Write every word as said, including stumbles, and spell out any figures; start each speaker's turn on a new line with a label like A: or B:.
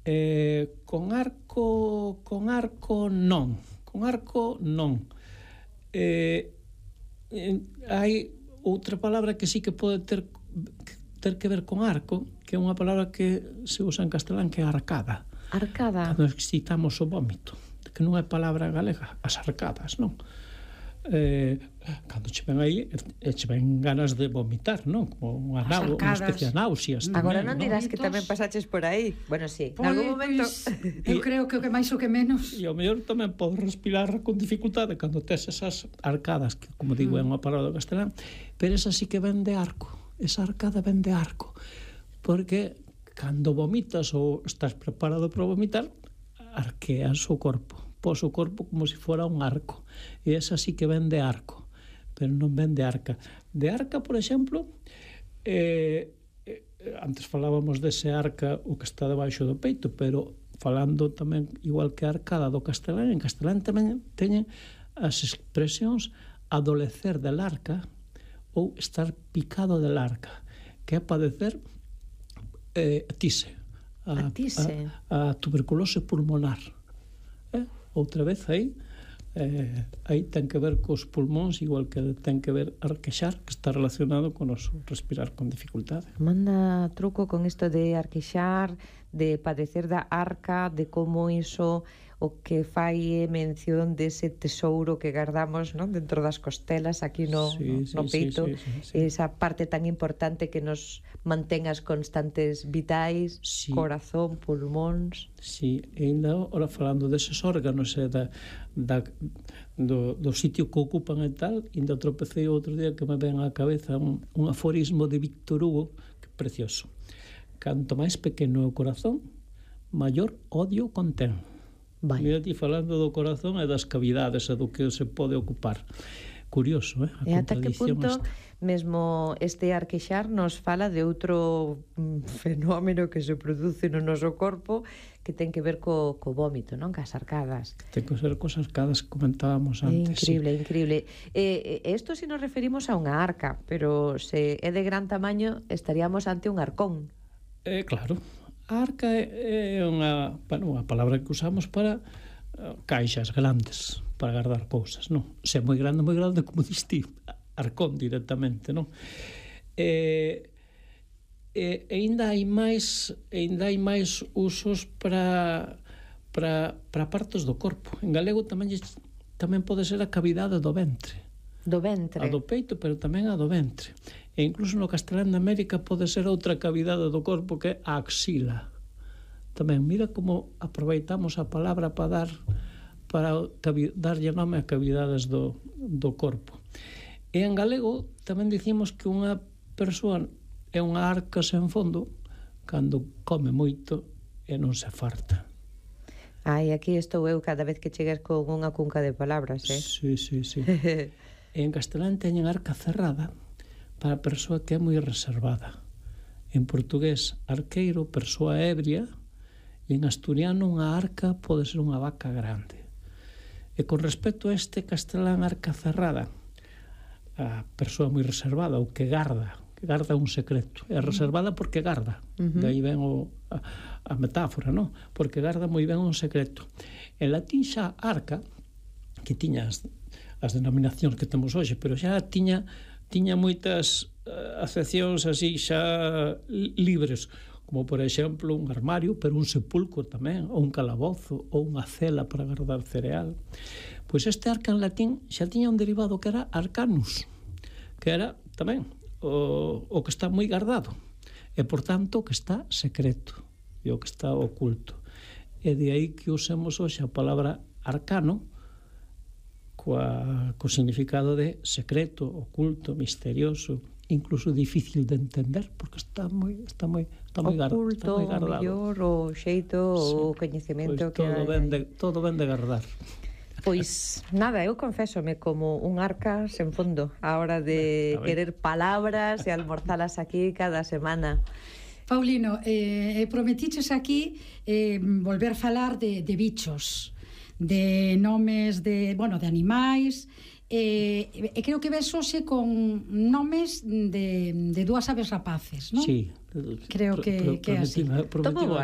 A: Eh, con arco, con arco non. Con arco non. Eh, eh, hai outra palabra que sí que pode ter ter que ver con arco, que é unha palabra que se usa en castelán, que é arcada.
B: Arcada.
A: Cando excitamos o vómito, que non é palabra galega, as arcadas, non? Eh, cando che ven aí, e che ven ganas de vomitar, non? Como unha, nau, unha especie de náuseas tamén,
B: agora non dirás
A: non?
B: que tamén pasaches por aí. Bueno, sí,
C: Pois,
B: en algún momento
C: eu creo que o que máis o que menos.
A: E ao mellor tamén podes respirar con dificultade cando tes esas arcadas, que como digo é unha palabra do castelán, pero esa sí que ven de arco. Esa arcada ven de arco, porque cando vomitas ou estás preparado para vomitar, arqueas o corpo, pos o corpo como se fora un arco, e esa sí que ven de arco, pero non ven de arca. De arca, por exemplo, eh, eh, antes falábamos dese arca o que está debaixo do peito, pero falando tamén igual que a arcada do castelán, en castelán tamén teñen as expresións adolecer del arca ou estar picado del arca, que é padecer eh, tise,
B: a, tise.
A: A, a tuberculose pulmonar. Eh? Outra vez aí, eh, aí ten que ver cos pulmóns, igual que ten que ver arquexar, que está relacionado con os respirar con dificultade.
B: Manda truco con isto de arquexar, de padecer da arca, de como iso o que fai mención dese tesouro que guardamos, non, dentro das costelas aquí no,
A: sí,
B: no, no
A: sí,
B: peito,
A: sí, sí, sí, sí.
B: esa parte tan importante que nos mantén as constantes vitais,
A: sí.
B: Corazón, pulmóns.
A: Si, sí, e ainda ora falando deses órganos e da, da, do, do sitio que ocupan e tal, ainda tropecei outro día que me ven á cabeza un, un aforismo de Víctor Hugo, que é precioso. Canto máis pequeno é o corazón, maior odio contén.
B: Vai.
A: Mira ti falando do corazón e das cavidades e do que se pode ocupar. Curioso, eh? A
B: e ata que punto
A: esta.
B: mesmo este arquexar nos fala de outro mm, fenómeno que se produce no noso corpo que ten que ver co, co vómito, non? Cas arcadas.
A: Ten que ser cos arcadas que comentábamos
B: É
A: antes.
B: increíble,
A: sí.
B: increíble. Eh, isto si nos referimos a unha arca, pero se é de gran tamaño estaríamos ante un arcón.
A: Eh, claro. A arca é, é unha, bueno, unha palabra que usamos para uh, caixas grandes, para guardar cousas, non? Se é moi grande, moi grande, como diste, arcón directamente, non? E, e, e ainda hai máis, ainda hai máis usos para para para partes do corpo. En galego tamén tamén pode ser a cavidade do ventre.
B: Do ventre.
A: A do peito, pero tamén a do ventre. E incluso no castelán de América pode ser outra cavidade do corpo que é a axila. Tamén, mira como aproveitamos a palabra para dar para darlle nome a cavidades do, do corpo. E en galego tamén dicimos que unha persoa é unha arca sen fondo cando come moito e non se farta.
B: Ai, aquí estou eu cada vez que chegues con unha cunca de palabras, eh?
A: Sí, sí, sí. En castelán teñen arca cerrada para a persoa que é moi reservada. En portugués, arqueiro, persoa ebria, e en asturiano unha arca pode ser unha vaca grande. E con respecto a este castelán arca cerrada, a persoa moi reservada, ou que garda, que garda un secreto. É reservada porque garda. Uh-huh. De aí ven o, a, a metáfora, non? Porque garda moi ben un secreto. En latín xa arca, que tiña as, as denominacións que temos hoxe, pero xa tiña tiña moitas uh, acepcións así xa libres, como por exemplo un armario, pero un sepulcro tamén, ou un calabozo, ou unha cela para guardar cereal. Pois este arca en latín xa tiña un derivado que era arcanus, que era tamén o, o que está moi guardado, e por tanto o que está secreto, e o que está oculto. E de aí que usemos hoxe a palabra arcano, coa, co significado de secreto, oculto, misterioso, incluso difícil de entender, porque está moi está moi está moi guardado,
B: oculto, o mellor, o xeito, sí, o coñecemento
A: pois que todo ben de, todo ben de guardar.
B: Pois nada, eu confésome como un arca sen fondo a hora de ben, querer palabras e almorzalas aquí cada semana.
C: Paulino, eh, prometiches aquí eh, volver a falar de, de bichos, de nomes de, bueno, de animais, e eh, creo que ves hoxe con nomes de, de dúas aves rapaces, non?
A: Sí.
C: Creo que,
A: pro, pro,
C: que é así.
A: Prometima,